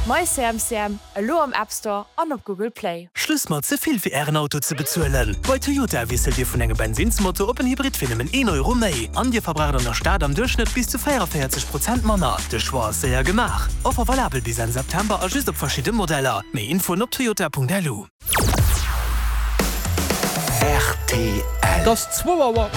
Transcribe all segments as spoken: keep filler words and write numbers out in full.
MyCMCM, elo am App Store an op Google Play. Schluss mat ze vill fir ären Auto ze bezuelen. Bei Toyota wiesselt Dir vun engem Bensinnsmotor op en Hybrid fir nëmmen een Euro méi. An Dir verbraucht an der Stad am Duerchschnëtt bis zu véierunvéierzeg Prozent manner. De Choix ass séier gemaach. Offer valabel bis Enn September a just op verschidde Modeller. Méi Infoen op toyota.lu. Rtl. Et ass zwou Auer.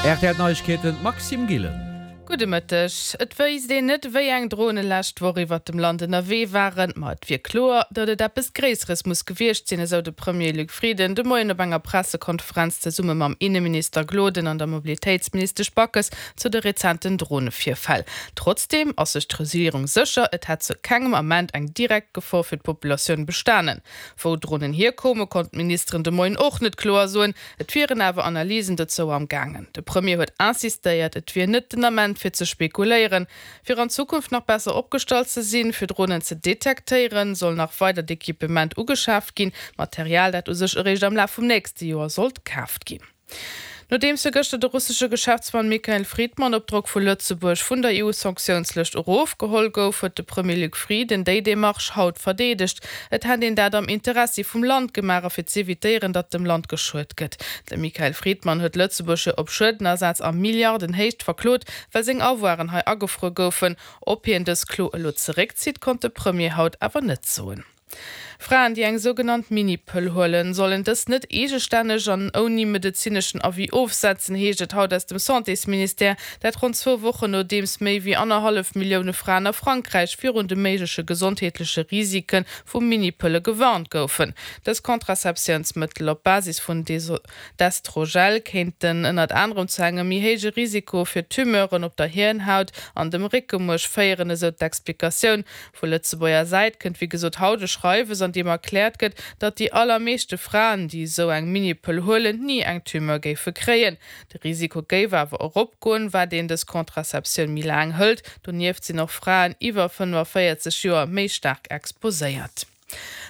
Rtl Neiegkeeten, Maxime Gillen. Gudde Mëtteg. Et wéisst een net, wéi eng Drone lescht Woch iwwert dem Land ënnerwee waren, ma et wier kloer, datt et eppes Gréisseres muss gewiescht sinn, esou de Premier Luc Frieden de Moien op enger Pressekonferenz zesumme mam Inneminister Gloden an der Mobilitéitsministesch Backes zu de rezenten Dronevirfäll. Trotzdeem ass sech d'Regierung sécher, et hätt zu kengem Ament eng direkt Gefor fir d'Populatioun bestanen. Wou d'Dronen hierkoumen, konnten d'Ministeren de Moien och net kloer soen, et wieren awer Analysen dozou am gaangen. De Premier huet insistéiert, et wier net den Ament fir ze spekuléieren. Fir an Zukunft nach besser opgestallt ze sinn, fir Dronen ze detektéieren, soll nach weidert Equipement ugeschaaft ginn, Material, dat u sech eréischt am Laf vum nächste Joer sollt kaaft ginn. Nodeems jo gëschter de russesche Geschäftsmann Mikhail Fridman op Drock vu Lëtzebuerg vun der E U-Sanktiounslëscht erofgeholl gouf, huet de Premier Luc Frieden déi Demarche haut verdeedegt. Et hätt een dat am Interessi vum Land gemaach a fir z'evitéieren, datt dem Land geschuet gëtt. De Mikhail Fridman huet Lëtzebuerg jo op Schuedenersaz a Milliardenhéicht verklot, well seng Avoiren hei agefruer goufen. Ob hien dës Klo elo zeréckzitt, konnt de Premier haut awer net soen. Fraen, déi eng sougenannt Mini-Pëll huelen, sollen dës net eegestänneg an ouni medezineschen Avis ofsetzen, heescht et haut aus dem Santésministère. Dat ronn zwou Wochen nodeems méi wéi annerhallef Millioune Fraen a Frankräich virun de méigleche gesondheetleche Risike vu Mini-Pëlle gewarnt goufen. Dës Contraceptiounsmëttel op Basis vun Desogestrel kéinten ënnert anerem zu engem méi héije Risiko fir Tumeuren op der Hirnhaut an dem Réckemuerch féieren, esou d'Explikatioun. Vu Lëtzebuerger Säit kënnt wéi gesot haut e Schreiwes, an deem erkläert gëtt, datt déi allermeeschte Fraen, déi esou eng Mini-Pëll huelen, ni eng Tumeur géife kréien. De Risiko géif awer eropgoen, wat een dës Contraceptioun méi laang hëlt. Donieft sinn och Fraen iwwer fënnefenvéierzeg Joer méi staark exposéiert.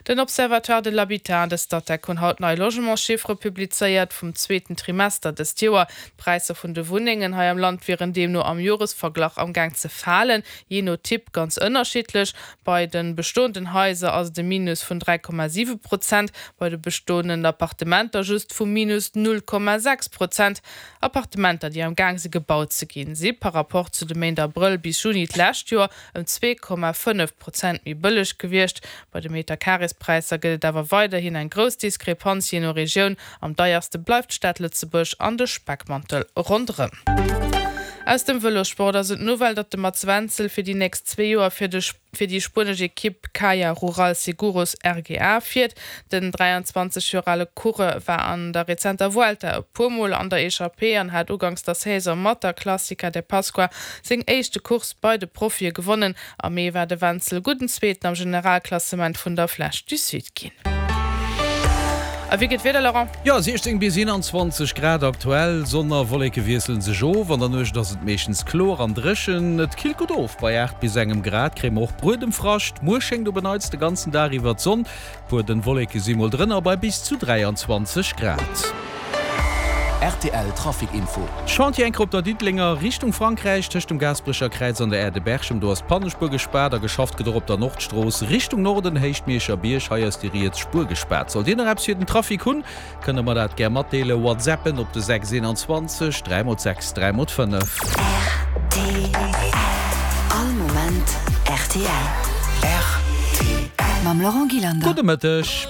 Den Observatoire de l'habitat an de Statec hunn haut nei Logementschiffere publizéiert vum zweeten Trimester dëst Joer. D'Präisser vun de Wunnengen hei am Land wieren deemno am Joresverglach am Gaang ze falen, jee no Typ ganz ënnerschiddlech. Bei de bestoenden Haiser ass et e Minus vun dräi Komma siwe Prozent, bei de bestoenden Appartementer just vu Minus null Komma sechs Prozent. Appartementer, déi am Gaang si gebaut ze ginn, si par Rapport zu de Méint Abrëll bis Juni d'lescht Joer ëm zwee Komma fënnef Prozent méi bëlleg gewiescht. Bei de Meterkarespräisser gëtt et awer weiderhin eng grouss Diskrepanz jee no Regioun. Am deierste bleift d'Stad Lëtzebuerg an de Speckmantel ronderëm. Aus dem Vëlossport ass et d'Nouvelle, datt de Mats Wenzel fir déi nächst zwee Joer fir de fir déi spuenesch Ekipp Caja Rural Seguros R G A fiert. Den dräianzwanzeg Joer ale Coureur war an der rezenter Vuelta e puer Mol an der Echappée an hat uganks der Saison mat der Clásica de Pascua seng éischte Course bei de Profie gewonnen. Am Mee war de Wenzel gudden Zweeten am Generalklassement vun der Flèche du Sud ginn. A wéi geet d'Wieder, Laurent? Jo, siechzéng bis eenanzwanzeg Grad aktuell. Sonn a Wolleke wiessele sech of. An der Nuecht ass et meeschtens kloer an dréchen. Et killt gutt of, bei aacht bis engem Grad kréie mer och Buedemfrascht. Muer schéngt op en Neits de ganzen Dag iwwer d'Sonn. Puer dënn Wolleke si mol drënner bei bis zu dräianzwanzeg Grad. R T L Trafic Info. Chantier enker op der Diddelenger Richtung Frankräich tëscht dem Gaasperecher Kräiz an der Aire de Berchem. Do ass d'Pannespuer gespaart a geschafft gëtt och op der Nordstrooss Richtung Norden, Héicht Mierscher Bierg. Hei ass déi riets Spuer gespaart. Sollt Dir nach eppes fir den Trafic hunn, kënnt der mer dat gär matdeelen. Whatsappen op de sechs eenanzwanzeg dräi mol sechs dräi mol fënnef. R T L All Moment R T L. R T L. Mam Laurent Gillander. Gudde Mëtteg.